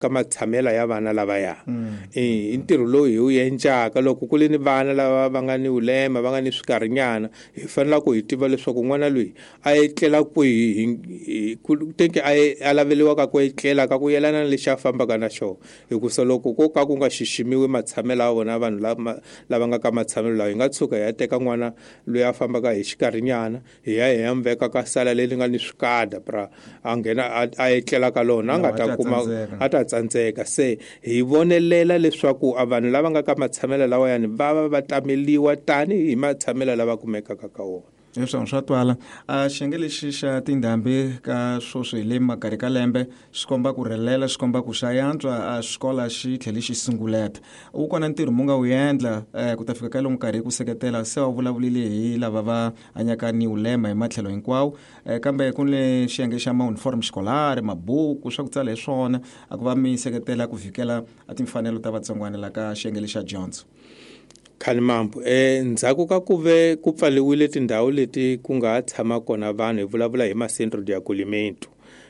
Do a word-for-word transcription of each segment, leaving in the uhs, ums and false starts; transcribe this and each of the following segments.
Ka matshamelo ya vana lavaya i ntirho lowu hi wu endlaka loko ku ri ni vana lava va nga ni vulema, va nga ni swikarinyana, hi fanele ku hi tiva leswaku n'wana loyi a etlela kwihi, teke a a laveliwaka ku etlela ka ku yelana na lexi a fambaka na xona. Hikusa loko ko ka ku nga xiximiwi matshamelo ya vona vanhu lava lava nga ka matshamelo lawa, hi nga tshuka hi ya teka n'wana loyi a fambaka hi xikarinyana hi ya hi ya n'wi veka ka sala leri nga ni swikada pra a nghena a etlela ka lona, a nga ta kuma a ta tsandzeka. Se hi vonelela leswaku a vanhu lava nga ka matshamelo lawayani va va va tameliwa tanihi matshamelo lava kumekaka ka wona. Leswi swa twala. A xiyenge lexi xa tindhambi ka swoswi hi le makarhi ka lembe swi komba ku rhelela, swi komba ku xa yantswa, a xikola xi tlhele xi sunguleta. Wu kona ntirho mu nga wu endla ku ta fika ka lomu nkarhi ku seketela, se va vulavulile hi lava va hanyaka ni vulema hi matlhelo hinkwawo, kambe ku ni xiyenge xa ma-uniform xikolari, mabuku, swa ku tsala hi swona, a ku va mi seketela ku vhikela a timfanelo ta vatsongwana la ka xiyenge lexa dyondzo. Khalimambu, eh ndzhaku ka ku ve ku pfaliwile tindhawu leti ku nga tshama kona vanhu, hi vulavula hi ma-centro de acolhimento,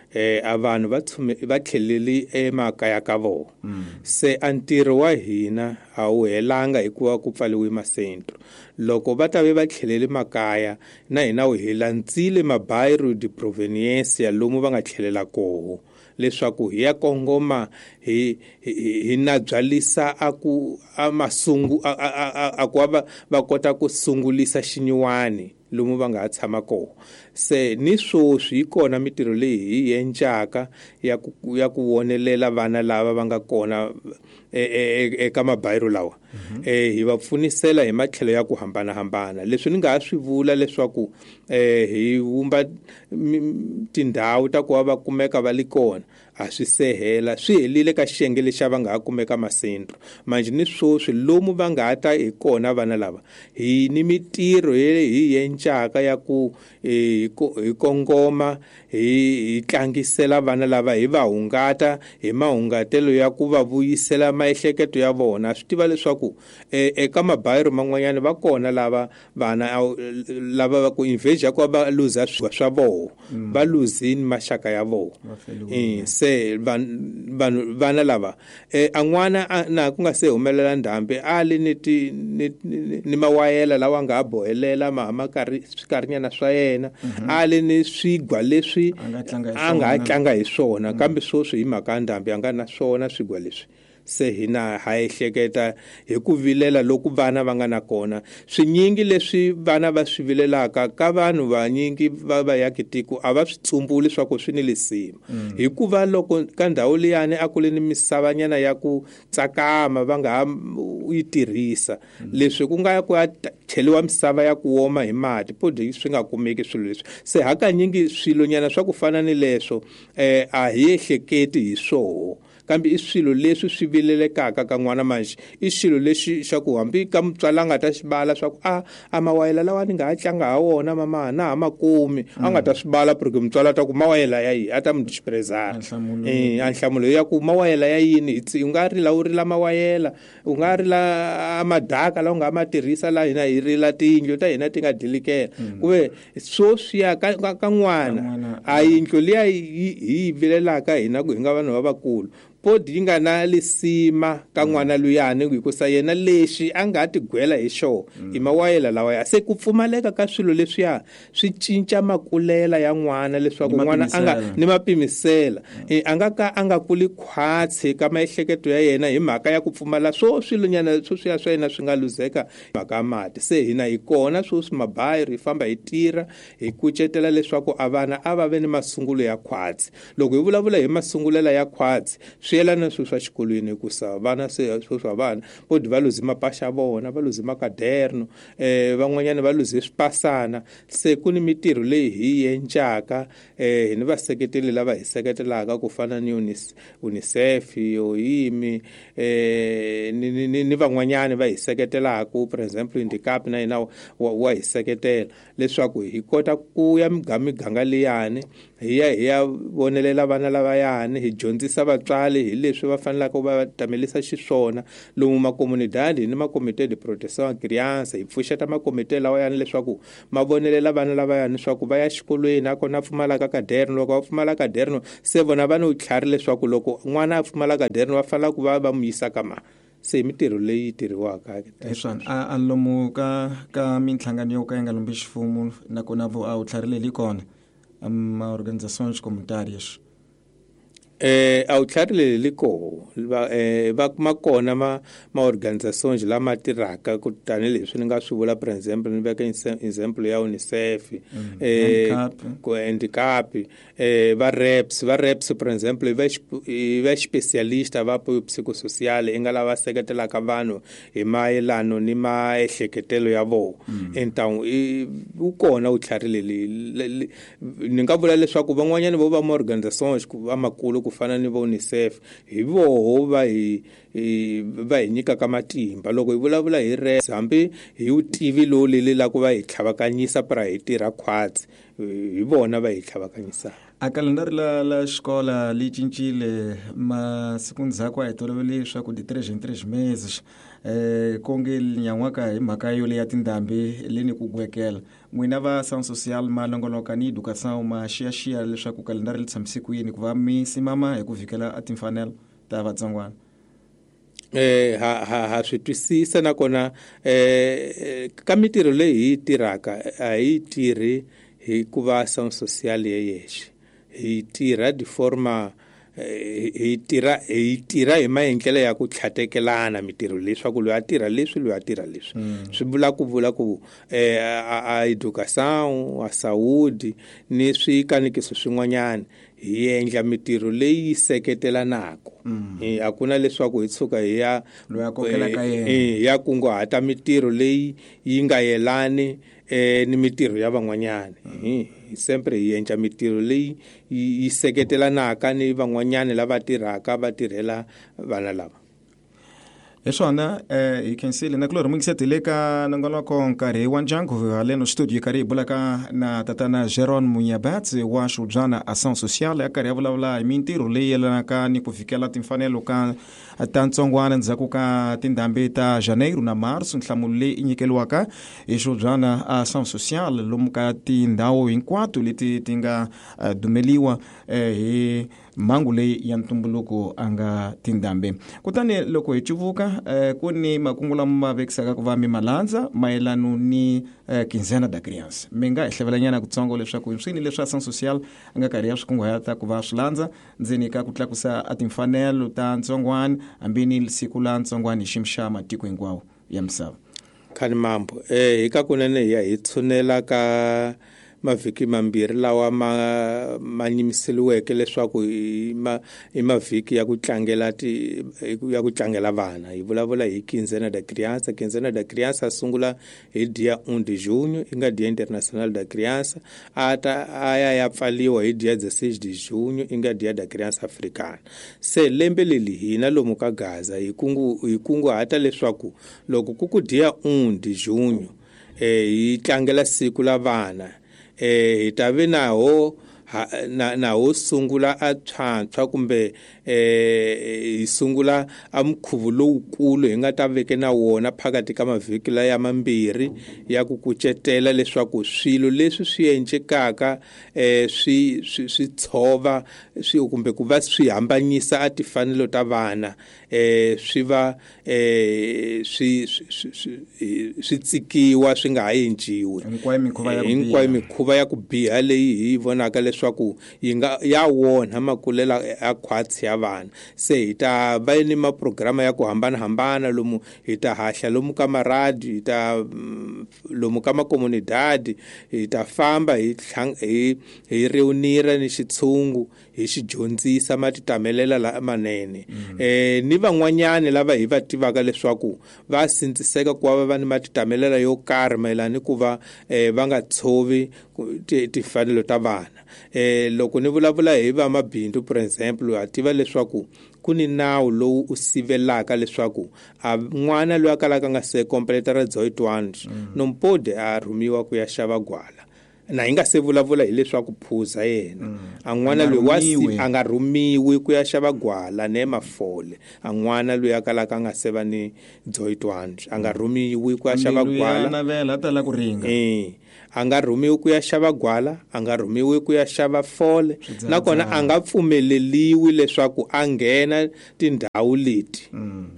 eh a vanhu va tshume va tlheleli emakaya ka vona. Se a ntirho wa hina a wu helanga hikuva ku pfaliwe ma-centro. Loko va ta ve va tlheleli makaya, na hina wu hi landzile mabairro de proveniência lomu va nga tlhelela koho, leswaku hi ya kongoma hi hi na byalisa a ku a masungu a a a ku va va kota ku sungulisa xinyiwani lomu va nga ha tshama kona. Se ni swoswi yi kona mitirho leyi hi endlaka ya ku ya ku vonelela vana lava va nga kona eka mabairro lawa, eh hi va pfunisela hi matlhelo ya ku hambanahambana. Leswi ni nga ha swi vula leswaku eh hi vumba tindhawu ta ku va va kumeka va li kona, a swi se hela, swi helile ka xiyenge lexi va nga ha kumeka masentro. Manje ni swoswi lomu va nga ha ta hi kona vana lava, hi ni mitirho hi endlaka ya ku hi kongoma hi tlangisela vana lava, hi va hungata hi mahungatelo ya ku va vuyisela maehleketo ya vona. Swi tiva leswaku eka mabairro man'wanyana va kona lava vana lava va ku invasion ku va luza swa vona, va luzini maxaka ya vona. Se vanhu vana lava a n'wana na ku nga se humelela ndhambi a li ni ti ni mawayela lawa nga ha bohelela ma ma karhi swikarinyana swa yena, a li ni swigwa leswi a nga ha tlanga hi swona, kambe swoswi hi mhaka ya ndhambi a nga na swona swigwa leswi. Se hina ha ehleketa hi ku vilela loku vana va nga na kona. Swinyingi leswi vana va swi vilelaka ka vanhu vanyingi va va yaki tiko a va swi tsumbuli swa ku swi ni lisima, hikuva loko ka ndhawu liyani a ku ri ni misavanyana ya ku tsakama va nga ha yi tirhisa, leswi ku nga ya ku ya cheliwa misava ya ku woma hi mati podi swi nga kumeki swilo leswi. Se hakanyingi swilonyana swa ku fana ni leswo eh a hi ehleketi hi swoho, kambe i swilo leswi swi vilelekaka ka n'wana. Manje i xilo lexi xa ku hambi ka mutswari a nga ta xi bala swa ku a a mawayela lawa ni nga ha tlanga ha wona mama na ha makumi, a nga ta swi bala porque mutswari a ta ku mawayela ya yini, a ta mu disprezar. Eh a nhlamulo ya ku mawayela ya yini, u nga rila u rila mawayela, u nga rila madaka lawa u nga ma tirhisa la hina hi rila tiyindlu ta hina ti nga dilikela. Kuve swoswiya ka ka n'wana a yindlu liya hi yi vilelaka hina ku hi nga vanhu lavakulu podi yi nga na lisima ka n'wana luyani, hikusa yena lexi a nga tigwela hi xona i mawayela lawa ya. Se ku pfumaleka ka swilo leswiya swi cinca makulela ya n'wana, leswaku n'wana a nga ni mapimisela, a nga ka a nga kuli khwatsi ka maehleketo ya yena hi mhaka ya ku pfumala swo swilonyana sweswiya swa yena swi nga luzeka mhaka ya mati. Se hina hi kona swoswi mabairro hi famba hi tirha hi kucetela leswaku a vana a va ve ni masungulo ya khwatsi. Loko hi vulavula hi masungulela ya khwatsi, swi yelana swilo swa xikolweni, hikusa vana se sweswi vana podi va luze mapasha vona, va luze makaderno, eh van'wanyana va luze swipasana. Se ku ni mitirho leyi hi endlaka, eh hi ni vaseketeli lava hi seketelaka ku fana ni UNICEF, OIMI, eh ni ni ni van'wanyana va hi seketelaka, for example Indicap na yena wa hi seketela leswaku hi kota ku ya miganga liyani hi ya hi ya vonelela vana lavayani, hi dyondzisa vatswari hi leswi va fanelaka va tamelisa xiswona lomu makomunidadi ni makomite de proteção à criança. Hi pfuxeta makomite lawayani leswaku ma vonelela vana lavayani leswaku va ya xikolweni, a kona pfumalaka kaderno. Loko va pfumala kaderno se vona va ni vutlhari leswaku loko n'wana a pfumala kaderno va fanela ku va va mu yisa ka ma. Se mitirho leyi tirhiwaka hi swona a lomu ka ka minhlangano yo ka yi nga lombi ximfumo nakona vo a vutlhari leyi kona ma organizações comunitárias. Eh a vutlhari leyi li koho va eh va kuma kona ma ma organizações lama tirhaka ku tanihileswi ni nga swi vula, for example ni veka example ya UNICEF, eh ku handicap, eh va reps va reps for example va va specialista va apoio psicossocial i nga lava seketelaka vanhu hi mayelano ni maehleketelo ya vona. Então wu kona vutlhari leyi ni nga vula leswaku van'wanyana vo va ma organizações va makulu ku fana ni vo UNICEF hi voho va hi va hi nyikaka matimba loko hi vulavula hi res, hambi hi vutivi lowu leli la ku va hi tlhavakanyisa pra hi tirha khwatsi, hi vona va hi tlhavakanyisaka. A kalendari la la xikola li cincile masiku ndzhaku a hi tolovele leswaku de três em três meses eh konge nyan'waka hi mhaka yo leya tindhambi leni ku gwekela. N'wina va ação social ma longoloka ni educação ma xiyaxiya leswaku kalendari li tshamise ku yini ku va mi simama hi ku vikela a timfanelo ta vatsongwana? Eh ha ha ha swi twisisa nakona eh ka mitirho leyi hi yi tirhaka a hi tirhi hi ku va ação social ye yexe, hi tirha de forma hi tirha hi tirha hi maendlelo ya ku tlhatekelana mitirho leswaku loyi a tirha leswi loyi a tirha leswi. Swi vula ku vula ku eh a educação, a saúde ni swikanikiso swin'wanyana hi endla mitirho leyi seketelanaka. A ku na leswaku hi tshuka hi ya loyi a kokelaka yena hi ya kunguhata mitirho leyi yi nga yelani eh ni mitirho ya van'wanyana. Hi sempre hi endla mitirho leyi yi seketelanaka ni van'wanyana lava tirhaka va tirhela vana lava. Hi swona eh hi khensile na kulorhi mungisetele ka nongonoko nkarhi wa ndyangu haleno studio yi karhi hi bulaka na tatana Geron Munyabatsi wa Xubyana Ação Social ya karhi ya vulavula hi mintirho leyi yelanaka ni ku fikela timfanelo ka ta ntsongwana ndzhaku ka tindhambi ta Janeiro na Marso. Nhlamulo leyi i nyikeliwaka hi Xubyana Ação Social lomu ka tindhawu hinkwato leti ti nga dumeliwa hi mhangu leyi ya ntumbuluko a nga tindhambi. Kutani loko hi cuvuka eh, ku ni makungu lama ma vekisaka ku va mi malandza mayelano ni eh, quinzena da criança. Mi nga hi hlevelanyana kutsongo leswaku swini leswi ação social a nga karhi ya swi kunguhata ku va swi landza ndzeni ka ku tlakusa a timfanelo ta ntsongwana hambi ni siku la ntsongwana hi xiyimo xa matiko hinkwawo ya misava. Khani mambo eh hi ka kunene hi ya hi tshunela ka mavhiki mambirhi lawa ma ma nyimiseliweke leswaku i ma i mavhiki ya ku tlangela ti ya ku tlangela vana. Hi vulavula hi quinzena da criança. Quinzena da criança sungula hi dia um de junho, i nga Dia Internacional da Criança, a ta a ya ya pfaliwa hi dia dezesseis de junho, i nga Dia da Criança Africana. Se lembe leli hina lomu ka Gaza hi kungu hi kunguhata leswaku loko ku ku dia um de junho eh hi tlangela siku la vana, eh hi ta ve naho na na ho sungula a tshwantshwa kumbe eh hi sungula a mukhuvu lowukulu hi nga ta veke na wona phakathi ka mavhiki laya mambirhi ya ku kucetela leswaku swilo leswi swi endlekaka eh swi swi tshova swi kumbe ku va swi hambanyisa a timfanelo ta vana eh swi va eh swi swi tsikiwa swi nga ha endliwi. Hinkwayo mikhuva ya ku biha, hinkwayo mikhuva ya ku biha leyi hi vonaka leswaku yi nga ya wona makulela a khwatsi ya vana. Se hi ta va ni maprograma ya ku hambanahambana lomu hi ta hahla lomu ka maradi, hi ta lomu ka makomunidadi, hi ta famba hi hi hi reunira ni xitshungu hi xi dyondzisa matitamelela lamanene. Eh ni van'wanyani lava hi va tivaka leswaku va sindziseka ku va va ni matitamelela yo karhi mayelana ni ku va va nga tshovi timfanelo ta vana. Eh loko ni vulavula hi va mabindzu, for example, ha tiva leswaku ku ni nawu lowu u sivelaka leswaku a n'wana loyi a kalaka nga se completara dezoito anos não pode a rhumiwa ku ya xava gwala. Na hi nga se vulavula hileswaku phuza yena. A n'wana loyi wa si a nga rhumiwi ku ya xava gwala ne mafole. A n'wana loyi a kalaka a nga se va ni dezoito anos a nga rhumiwi ku ya xava gwala. Navela a tala ku ringa. Eh, a nga rhumiwi ku ya xava gwala, a nga rhumiwi ku ya xava fole, nakona a nga pfumeleliwi leswaku a nghena tindhawu leti.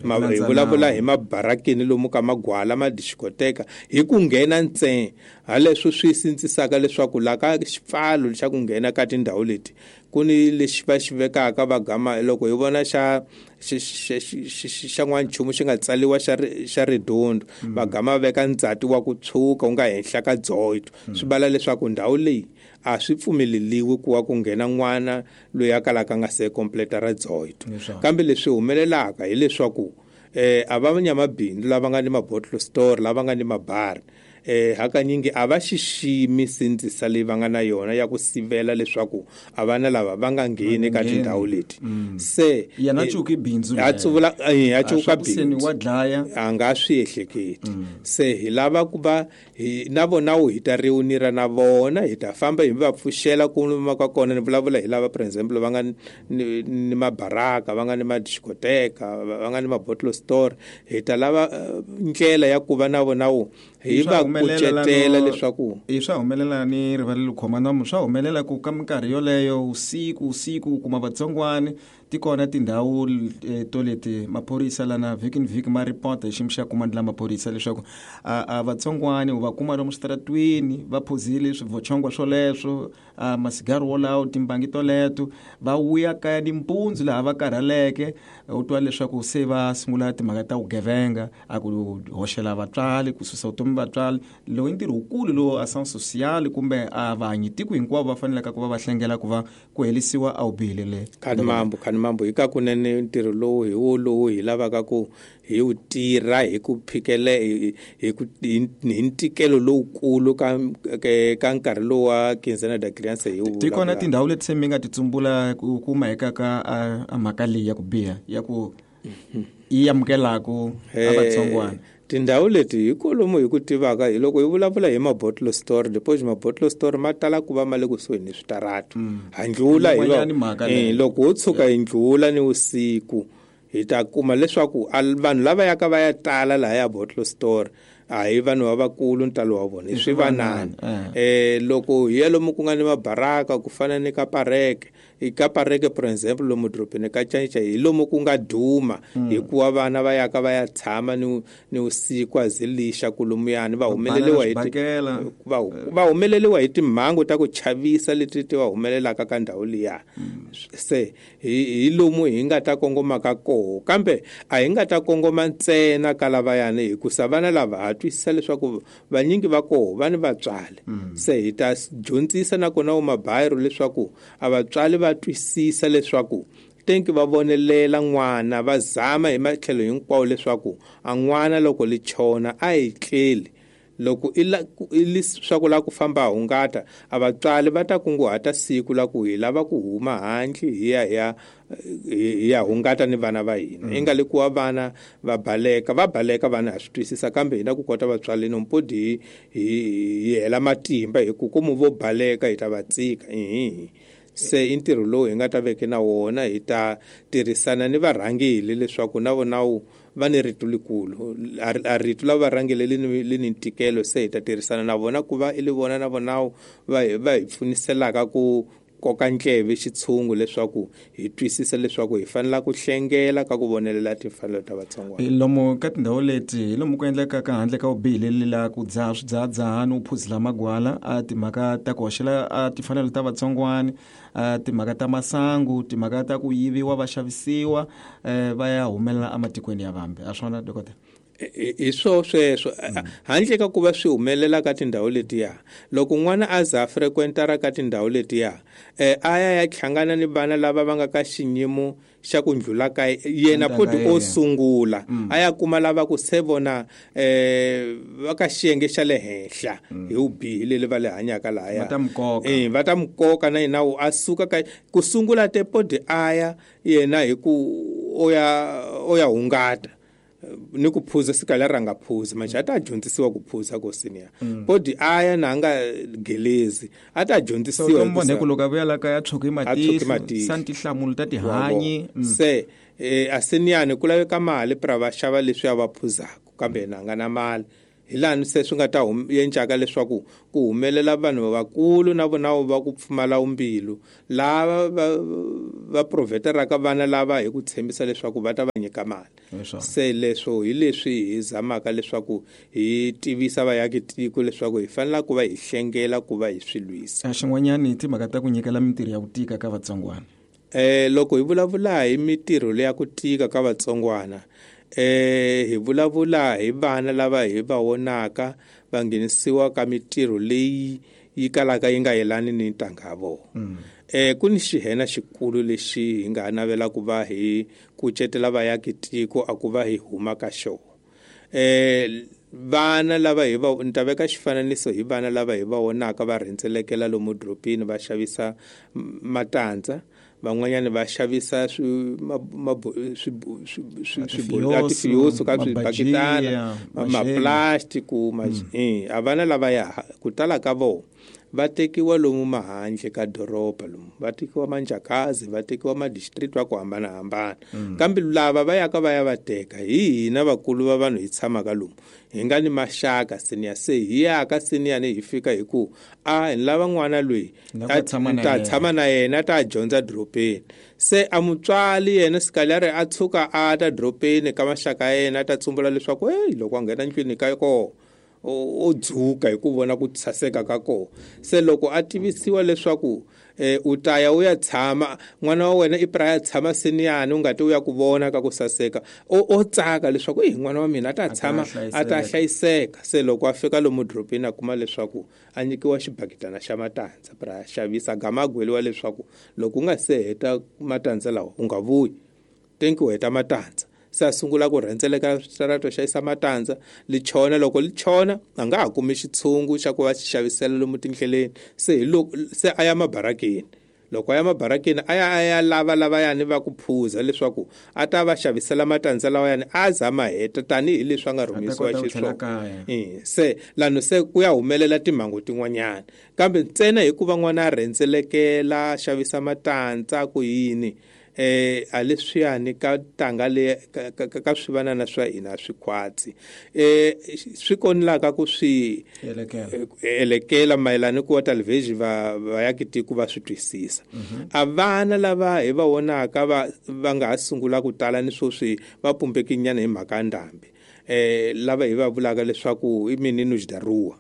Ma hi vulavula hi mabarakeni lomu ka magwala ma discoteka hi ku nghena ntsena. Haleswo swi sindzisaka leswaku la ka xipfalo xa ku nghena ka tindhawu leti ku ni lexi va xi vekaka va gama loko hi vona xa xa n'wanchumu xi nga tsaliwa xa xa ridondo va gama veka ndzati wa ku tshuka wu nga henhla ka dezoito. Swi vala leswaku ndhawu leyi a swi pfumeleliwi ku wa ku nghena n'wana loyi a kalaka a nga se completa ra dezoito. Kambe leswi humelelaka hileswaku eh a va nyamabindzu lava nga ni mabottle store lava nga ni mabari eh hakanyingi a va xiximi sindzisa leyi va nga na yona ya ku sivela leswaku a vana lava va nga ngheni ka tindhawu leti. Se yena cuki bindzu a tsuvula a cuka bindzu wa dlaya a nga swi ehleketi. Se hi lava ku va hi na vona wu hi ta reunira na vona hi ta famba hi va pfuxela ku luma ka kona. Ni vulavula hi lava for example va nga ni, ni mabaraka va nga ni madiscoteka va nga ni mabottle store. Hi ta lava ndlela ya ku va na vona wu hi va kucetela leswaku i swa humelela ni rivalelo khoma nomu swa humelela ku ka minkarhi yoleyo usiku usiku kuma vatsongwani ti kona tindhawu to leti maphorisa lana vhiki ni vhiki ma report hi xiyimo xa kumandla la maphorisa leswaku a vatsongwani va kuma lomu switaratwini va phuzile swivochongwa swoleswo a masigari wolawo timbangi toleto va vuya kaya nimpundzu laha va karhaleke u twa leswaku se va sungula timhaka ta vugevenga a ku hoxela vatswari ku susa vutomi vatswari. Lowu i ntirho wukulu lowu ação social kumbe a vahanyi tiko hinkwavo va fanelaka ku va va hlengela ku va ku helisiwa a vubihi le. Khani mambo khani mambo hi ka kunene ntirho lowu hi wo lowu hi lavaka ku hi wu tirha hi ku phikele hi ku hi ntikelo lowukulu ka ka nkarhi lowu wa Quinzena da Criança hi wu. Ti kona tindhawu leti se mi nga ti tsumbula ku kuma eka ka a mhaka leyi ya ku biha ya ku yi amukelaku a vatsongwana. Tindhawu leti hi kolomu hi ku tivaka hi loko hi vulavula hi mabottle store depois mabottle store ma tala ku va ma le kusuhi ni switaratu. Ha ndlula hi va eh loko ho tshuka hi ndlula ni usiku hi ta kuma leswaku vanhu lava yaka va ya tala laha ya bottle store a hi vanhu lavakulu ntalo wa vona i swivanani. Eh loko hi ya lomu ku nga ni mabaraka ku fana ni ka pareke i ka pareke for example lomu dorobeni ka Canca hi lomu ku nga duma hikuva vana va yaka va ya tshama ni ni usiku a zilixa kulumuyani va humeleliwa hi va va humeleliwa hi timhangu ta ku chavisa leti ti va humelelaka ka ndhawu liya. Se hi hi lomu hi nga ta kongoma ka koho kambe a hi nga ta kongoma ntsena ka lavayani hikusa vana lava ha twisisa leswaku vanyingi va koho va ni vatswari. Se hi ta dyondzisa nakona wu mabayiro leswaku a vatswari va twisisa leswaku tenki va vonelela n'wana va zama hi matlhelo hinkwawo leswaku a n'wana loko li chona a hi tleli loko i leswaku la ku famba hungata a vatswari va ta kunguhata siku la ku hi lava ku huma handle hi ya hi ya hi ya hungata ni vana va hina. I nga le ku wa vana va baleka va baleka vana ha swi twisisa kambe hina ku kota vatswari nompodi hi hi hela matimba hi ku komu vo baleka hi ta va tsika. Se i ntirho lowu hi nga ta veke na wona hi ta tirhisana ni varhangeli leswaku na vona wu va ni rito likulu a rito la varhangeli li ni li ni ntikelo. Se hi ta tirhisana na vona ku va i li vona na vona va va hi pfuniselaka ku koka ndleve xitshungu leswaku hi twisisa leswaku hi fanela ku hlengela ka ku vonelela timfanelo ta vatsongwana. Lomu ka tindhawu leti hi lomu ku endlekaka handle ka vubihi la ku dzaha swidzahadzahani u phuzila magwala a timhaka ta ku hoxela a timfanelo ta vatsongwana a timhaka ta masangu timhaka ta ku yiviwa va xavisiwa va ya humelela ematikweni ya vambe a swona dokotela? Hi swo sweswo handle ka ku va swi humelela ka tindhawu letiya loko n'wana a za frequentara ka tindhawu letiya eh a ya ya hlangana ni vana lava va nga ka xinyimo xa ku ndlula ka yena poti o sungula a ya kuma lava ku se vona eh va ka xiyenge xa le henhla hi vubihi leli va le hanyaka lahaya eh va ta mukoka na yena a suka ka ku sungula te poti a ya yena hi ku o ya o ya hungata. ni ku phuza sikala ranga phuza manje ata dyondzisiwa ku phuza ko senior podi aya na nga gelezi ata dyondzisiwa so ku loko vuya la kaya tshoki matihlo santi hlamula ta tihanyi se eh aseniyani ku laveka mali pra va xava leswi a va phuzaka kambe na nga na mali hi lani se swi nga ta yencaka leswaku ku humelela vanhu vakulu na vona va ku pfumala umbilu lava va va proveteraka vana lava hi ku tshembisa leswaku va ta va nyika mali se leswo hi leswi hi zamaka leswaku hi tivisa vayaki tiko leswaku hi fanela ku va hi hlengela ku va hi swi lwisa xin'wanyani timhaka ta ku nyikela mintirho ya ku tika ka vatsongwana eh loko hi vulavula hi mintirho leya ku tika ka vatsongwana eh hi vulavula hi vana lava hi va vonaka va nghenisiwa ka mintirho leyi yi kalaka yi nga yelani ni ntanga ya vona mm. eh ku ni xihena xikulu lexi hi nga navela ku va hi kucetela vayaki tiko a ku va hi huma ka xona eh vana lava hi va ni ta veka xifananiso hi vana lava hi va vonaka va rhendzelekela lomu dropini va xavisa matandza van'wanyana va xavisa swi swi ka swibakitana maplastiki a vana lava ya ku tala ka vona va tekiwa lomu mahandle ka doroba lomu va tekiwa manjakazi va tekiwa ma-district va ku hambanahambana kambe lava va yaka va ya va teka hi hina vakulu va vanhu hi tshamaka lomu hi nga ni maxaka senior se hi yaka seniyani hi fika hi ku a hi lava n'wana loyi ta tshama na yena ta dyondza dropeni se a mutswali yena sikalari a tshuka a ta dropeni ka maxaka ya yena a ta tsumbula leswaku hey loko a nghena ndlwini ka kona o dzuka hi ku vona ku saseka ka kona se loko a tivisiwa leswaku eh u ta ya u ya tshama n'wana wa wena i pra ya tshama seniyani u nga ti u ya ku vona ka ku saseka o o tsaka leswaku eh n'wana wa mina a ta tshama a ta hlayiseka se loko a fika lomu dropeni a kuma leswaku a nyikiwa xibakitana xa matandza pra xavisa gama gweliwa leswaku loko u nga se heta matandza lawa u nga vuyi tenki u heta matandza se a sungula ku rhendzeleka switarato xavisa matandza lichona loko lichona a nga ha kumi xitshungu xa ku va xi xavisela lomu tindleleni se hi loko se a ya mabarakeni loko a ya mabarakeni a ya a ya lava lavayani va ku phuza leswaku a ta va xavisela matandza lawayani a za ma heta tanihileswi a nga rhumisiwa xiswona se lano se ku ya humelela timhangu tin'wanyana kambe ntsena hikuva n'wana a rhendzelekela xavisa matandza ku yini eh a leswiyani ka tanga le ka, ka, ka swivanana swa hina swikhwatsi eh swi konelaka ku swi elekela mayelana ku wa television va vayaki tiko va swi twisisa a vana lava hi va vonaka va va nga ha sungula ku tala ni swoswi va pumbekinyana hi mhaka ya ndhambi eh lava hi va vulaka leswaku i mininos da rua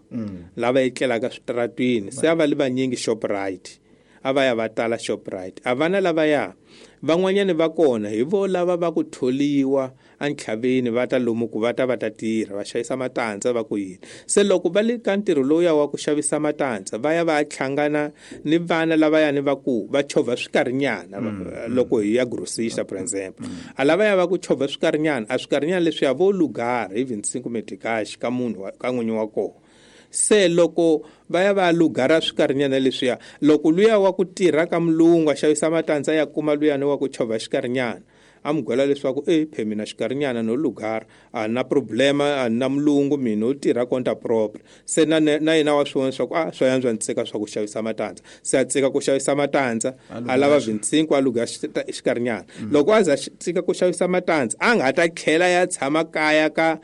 lava etlelaka switaratwini se a va li vanyingi Shoprite a va ya va tala Shoprite a vana lava ya van'wanyana va kona hi vo lava va ku tholiwa entlhaveni va ta lomu ku va ta va ta tirha va xavisa matandza va ku yini se loko va le ka ntirho lowuya wa ku xavisa matandza va ya va hlangana ni vana lavayani va ku va chovha swikarinyana loko hi ya grossista for example a lava ya va ku chovha swikarinyana a swikarinyana leswiya vo lugara hi vinte e cinco meticais ka munhu ka n'winyi wa kona se loko va ya va lugara swikarinyana leswiya loko luya wa ku tirha ka mulungu a xavisa matandza ya kuma luyani wa ku chovha xikarinyana a mu gwela leswaku e phe mina xikarinyana no lugara a na problema a na mulungu mina u tirha conta propre se na na yena wa swi vona leswaku a swa yantswa ni tsika swa ku xavisa matandza se a tsika ku xavisa matandza a lava vinte e cinco a luga xikarinyana loko a za tsika ku xavisa matandza a nga ta tlhela ya tshama kaya ka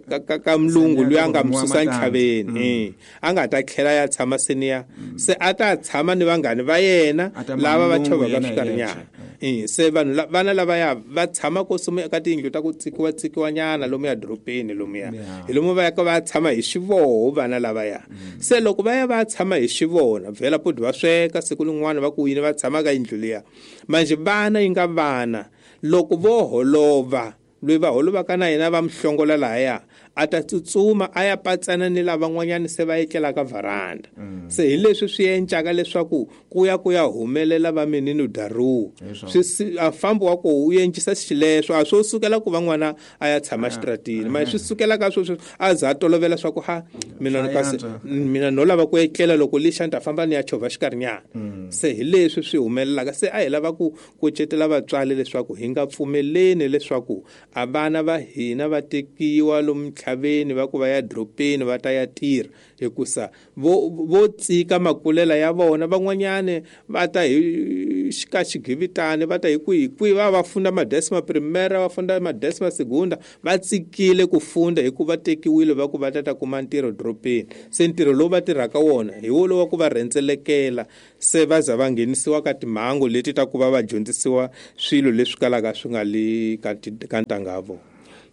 ka ka, ka mulungu luya nga mususa ntlhaveni eh a nga ta tlhela ya tshama senior se a ta tshama ni vanghani va yena lava va chovaka swikarinyana eh se vanhu vana lava ya va tshama ko suma ka tiyindlu ta ku tsikiwa tsikiwa nyana lomu ya dropeni lomu ya hi lomu va ya ka va tshama hi xivoho vana lava ya se loko va ya va tshama hi xivona vhela podi va sweka siku lin'wana va ku yini va tshama ka yindlu liya manje vana yi nga vana loko vo holova loyi va holovaka na yena va muhlongola lahaya a ta tsutsuma a ya patsana ni lavan'wanyana se va etlelaka varanda. Mm. Se hi leswi swi encaka leswaku ku ya ku ya humelela va menino da rua. Swi a fambo wa ko u encisa xileswo a swo sukela ku van'wana a ya tshama xitratini. Ma swi sukela ka sweswo a za tolovela swa ku ha mina no kasi mina no lava ku etlela loko lixa ni ta famba ni ya chovha xikarhinyana. Se hi leswi swi humelelaka se a hi lava ku kucetela vatswari leswaku hi nga pfumeleni leswaku a vana va hina va tekiwa lomu ntlhaveni va ku va ya dropeni va ta ya tirha hikusa vo vo tsika makulela ya vona van'wanyane va ta hi xika xigivitani va ta hi kwihi kwihi va va funda madesima primera va funda madesima segunda va tsikile ku funda hikuva tekiwile va ku va ta ta kuma ntirho dropeni se ntirho lowu va tirhaka wona hi wo lowa ku va rhendzelekela se va za va nghenisiwa ka timhangu leti ta ku va va dyondzisiwa swilo leswi kalaka swi nga le ka ka ntanga ya vona.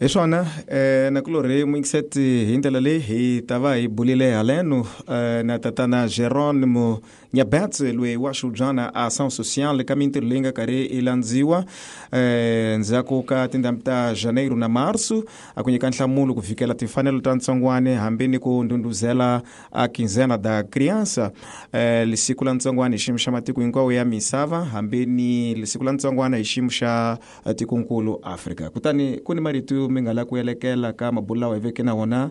Hi swona eh nakulorhi muyingiseti hi ndlela leyi hi ta va hi bulile haleno eh, na tatana Jerónimo Nhabetse loyi wa xubyana ação social ka mintirho leyi nga karhi i landziwa eh ndzhaku ka tindhambi ta janeiro na março a ku nyika nhlamulo ku fikela timfanelo ta ntsongwane hambi ni ku ndhundhuzela a quinzena da criança eh lisiku la ntsongwane hi xiyimo xa matiko hinkwawo ya misava hambi ni lisiku la ntsongwana hi xiyimo xa tikonkulu Afrika. Kutani ku ni marito mi nga la ku elekela ka mabulo lawa hi veke na wona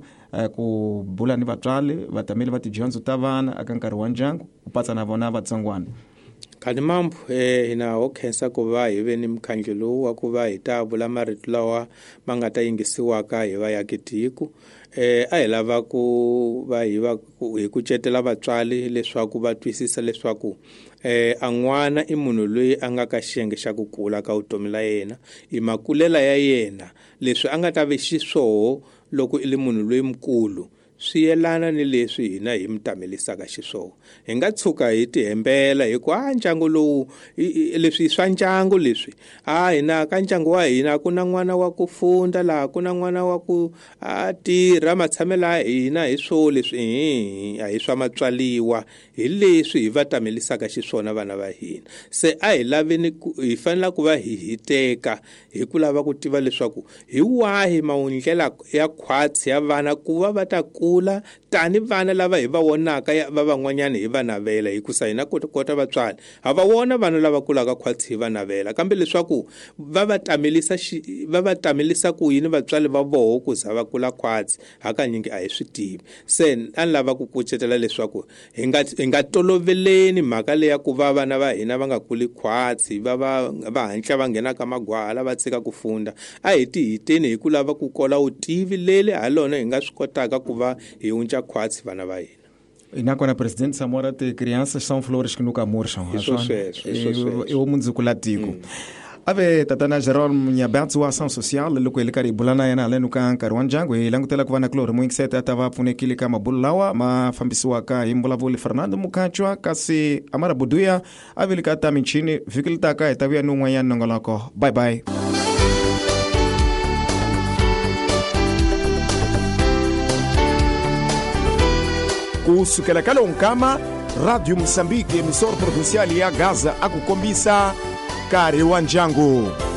ku bula ni vatswari vatameli va tidyondzo ta vana aka nkarhi wa ndyangu ku patsa na vona vatsongwana. Khani mambo eh hina ho khensa ku va hi ve ni mukhandlu lowu wa ku va hi ta vula marito lawa ma nga ta yingisiwaka hi vaakatiko. Eh a hi lava ku va hi va hi kucetela vatswari leswaku va twisisa leswaku eh a n'wana i munhu loyi a nga ka xiyenge xa ku kula ka vutomi la yena i makulela ya yena leswi a nga ta ve xiswoho loko i le munhu loyi mukulu swi yelana ni leswi hina hi mutamelisaka xiswona. Hi nga tshuka hi tihembela hi ku a ndyangu lowu leswi swa ndyangu leswi a hina ka ndyangu wa hina ku na n'wana wa ku funda laha ku na n'wana wa ku a tirha matshamelo ya hina hi swo leswi a hi swa matswaliwa hi leswi hi va tamelisaka xiswona vana va hina. Se a hi laveni hi fanela ku va hi hiteka hi ku lava ku tiva leswaku hi wahi mawundlela ya khwatsi ya vana ku va va ta kula tani vana lava hi va vonaka va van'wanyana hi va navela hikusa hina kota vatswari ha va vona vana lava kulaka khwatsi hi va navela kambe leswaku va va tamelisa va va tamelisa ku yini vatswari va voho ku za va kula khwatsi hakanyingi a hi swi tivi. Se a ni lava ku kucetela leswaku hi nga hi nga toloveleni mhaka leya ku va vana va hina va nga kuli khwatsi va va va hantla va nghena ka magwala va tshika ku funda a hi ti hiteni hi ku lava ku kola vutivi leli ha lona hi nga swi kotaka ku va hi unca khwatsi vana va hina. E nakona presidente Samora te crianças são flores que nunca murcham. E o mundzuku la tiko. Ave tatana Jerônimo Nhabetse wa ação social loko hi le karhi hi bula na yena haleno ka nkarhi wa ndyangu hi langutela ku va na kulorhi muyingiseti a ta va pfunekile ka mabulo lawa ma fambisiwaka hi mbulavuli Fernando Mukhatshwa kasi Amara Buduya a vile ka ta michini vhiki li taka hi ta vuya ni un'wanyana nongoloko. Bye bye. Ku sukela ka lonkama Radio Moçambique emissora provincial ya Gaza a ku kombisa nkarhi wa ndyangu.